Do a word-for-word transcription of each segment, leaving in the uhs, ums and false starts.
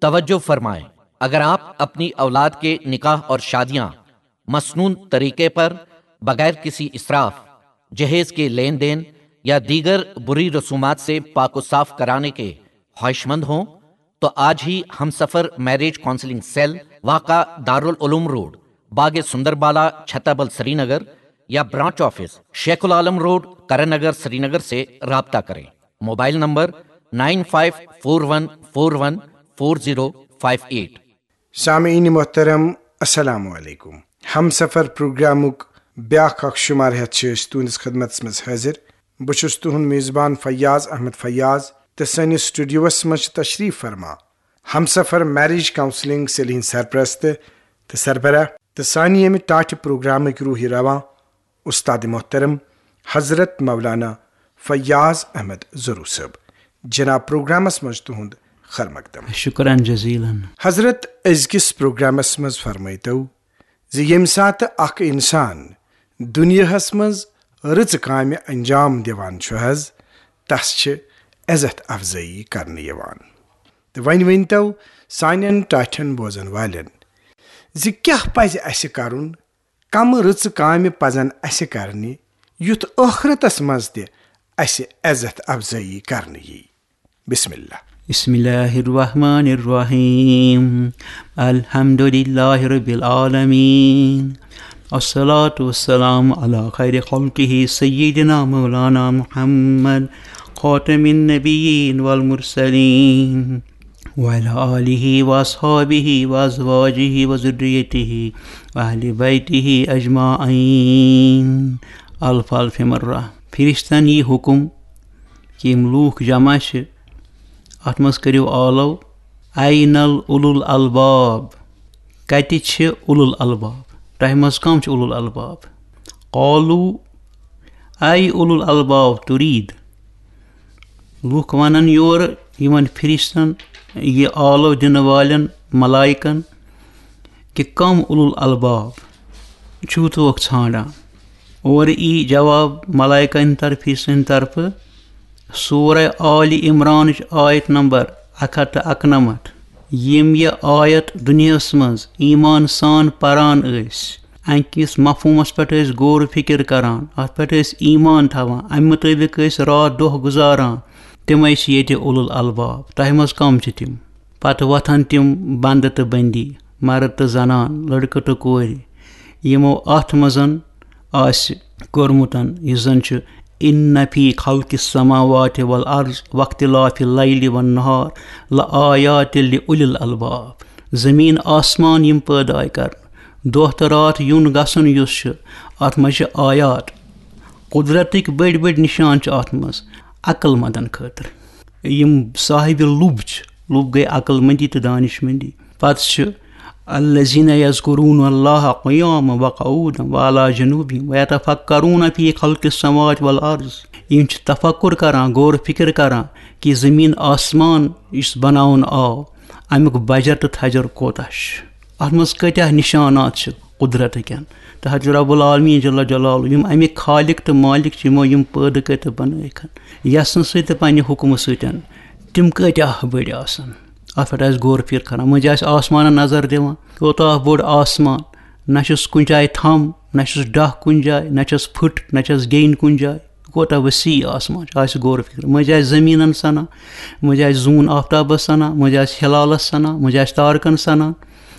توجہ فرمائیں، اگر آپ اپنی اولاد کے نکاح اور شادیاں مسنون طریقے پر، بغیر کسی اسراف، جہیز کے لین دین یا دیگر بری رسومات سے پاک و صاف کرانے کے خواہش مند ہوں تو آج ہی ہم سفر میرج کاؤنسلنگ سیل، واقع دارالعلوم روڈ، باغ سندر بالا، چھتابل، سری نگر یا branch office, Sheikh ul-Alam road, Karan Nagar, Srinagar سے رابطہ کریں۔ Mobile number nine five four one four one four zero five eight. سامعین محترم، السلام علیکم۔ ہم سفر پروگرامُک بیاکھ اکھ شمار ہیتھ چھِ أسۍ تُہنٛدِس خدمتس منٛز حٲضِر۔ بہٕ چھُس تُہنٛد میزبان فیاض احمد فیاض، تہٕ سٲنِس سٹوڈیوس منٛز چھِ تشریف فرما ہم سفر میرج کاؤنسلنگ سیل ہٕنٛدۍ سرپرست تہٕ سربراہ تہٕ سانہِ ییٚمہِ ٹاٹھہِ پروگرامٕکۍ روحی رواں، استاد محترم حضرت مولانا فیاض احمد ضرو صٲب۔ جناب، پروگرامس منٛز تُہنٛد خیر مقدم۔ شکرن جزیلن۔ حضرت، أزکِس پروگرامس منٛز فرمٲیتو زِ ییٚمہِ ساتہٕ اکھ انسان دُنیاہس منٛز رٕژٕ کامہِ انجام دِوان چھُ حض، تس چھِ عزت افزٲیی کرنہٕ یِوان۔ تہٕ وۄنۍ ؤنۍتو سانٮ۪ن ٹاٹھٮ۪ن بوزن والٮ۪ن زِ کیٛاہ پزِ اسہِ کرُن، کمہٕ رٕژٕ کامہِ پزن اسہِ کرنہِ، یُتھ ٲخرتس منٛز تہِ اسہِ عزت افزٲیی کرنہٕ یی۔ بسم اللہ۔ بسم اللہ الرحمن الرحیم۔ الحمد للہ رب العالمین۔ الصلاة والسلام علی خیر خلقہ سیدنا مولانا محمد خاتم النبیین والمرسلین وعلی آلہ واصحابہ وازواجہ وذریتہ واہل بیتہ اجمعین۔ الف الف مرہ۔ فرشتن یی حکم کہ یِم لوٗکھ جمع چھِ، اَتھ منٛز کٔرِو آلو، "اَیْنَ الْأُولُو الْأَلْبَابُ؟" کَتہِ چھِ اُولُو الْأَلْبَابُ؟ تۄہہِ منٛز کَم چھِ اُولُو الْأَلْبَابُ؟ قَالُوا، اَیْ اُولُو الْأَلْبَابُ تُریٖد؟ لوٗکھ وَنَن یورٕ یِمَن فرشتَن، یہِ آلو دِنہٕ والٮ۪ن ملائکَن، کہ کم اولو الالباب چھو توک ژھانڈان؟ اور ای جواب ملائکہ ہند طرفی سند طرف سورہ آل عمران آیت نمبر اکھ ہتھ تہٕ اکنمتھ۔ یم یہ آیت دنیاہس منز ایمان سان پران ٲسۍ، امہِ کِس مفہومس پٮ۪ٹھ ٲسۍ غور و فکر کران، اتھ پٮ۪ٹھ ٲسۍ ایمان تھاوان، امہِ مطابق ٲسۍ راتھ دۄہ گُزاران، تِمے چھِ ییٚتہِ اولو الالباب۔ تۄہہِ منز کم چھِ تِم؟ پتہٕ وۄتھن تِم بندٕ تہٕ بندی، مرد تہٕ زنان، لڑکہٕ تہٕ کورِ، یِمو اتھ منز آسہِ کوٚرمُت، یُس زن چھُ، "ان فی خلق السماوات والارض واختلاف اللیل والنہار لآیات لأولی الالباب"۔ زمین آسمان یِم پٲدٕ آیہِ کرنہٕ، دۄہ تہٕ راتھ یُن گژھُن یُس چھُ، اتھ منز چھِ آیات، قدرتٕکۍ بٔڑۍ بٔڑۍ نشان چھِ اتھ منز عقل مندن خٲطرٕ۔ یِم صاحب لُب چھِ، لُب گٔے عقل مندی تہٕ دانش مندی۔ پتہٕ چھِ، "الذین یذکرون اللہ قیاما وقعودا وعلی جنوبہم ویتفکرون فی خلق السماوات والارض"۔ یِم چھِ تفکر کران، غور فکر کران کہ زمین آسمان یُس بناونہٕ آو، امیُک بجر تہٕ تھجر کوتاہ چھُ، اتھ منز کۭتیاہ نشانات چھِ قدرتٕکٮ۪ن۔ تہٕ حضرت رب العالمین جل جلالہ، یِم امیِکۍ خالق تہٕ مالک چھِ، یِمو یِم پٲدٕ کٔرۍ تہٕ بنٲیِکھ، یژھنہٕ سۭتۍ تہٕ پننہِ حکمہٕ سۭتۍ، تِم کۭتیاہ بٔڑۍ آسن۔ اتھ پٮ۪ٹھ آسہِ غور فکر کران۔ مٔنٛزۍ آسہِ آسمانن نظر دِوان، کوتاہ بوٚڑ آسمان، نہ چھُس کُنہِ جایہِ تھم، نہ چھُس ڈکھ کُنہِ جایہِ، نہ چھس پھٕٹ، نہ چھس گیٚنۍ کُنہِ جایہِ۔ کوتاہ وسیع آسمان چھُ، آسہِ غور فکر۔ مٔنٛزۍ آسہِ زٔمیٖنن سنان، مٔنٛزۍ آسہِ زوٗن آفتابس سنان، مٔنٛزۍ آسہِ ہلالس سنان، مٔنٛزۍ آسہِ تارکن سنان۔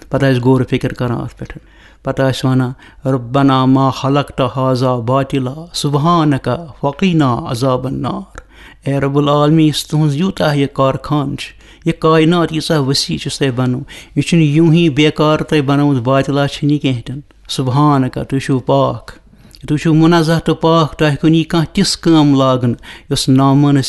پتہٕ آسہِ غور فکر کران اتھ پٮ۪ٹھ۔ پتہٕ آسہِ ونان، "ربنا ما خلقت هذا باطلا سبحانک فقنا عذاب النار"۔ اے رب العالمین، یُس تُہنٛز یوٗتاہ یہِ کارخان چھُ، یہِ کائنات ییٖژاہ وسیع چھُ تۄہہِ بنوو، یہِ چھُنہٕ یوٗں ہی بیکار تۄہہِ بنومُت، باطلا چھُنہٕ یہِ کینٛہہ تہِ نہٕ۔ سبحانک، تُہۍ چھِو پاک، تُہۍ چھِو منزہ تہٕ پاک، تۄہہِ کُن یی کانٛہہ تِژھ کٲم لاگنہٕ یۄس نامٲنِس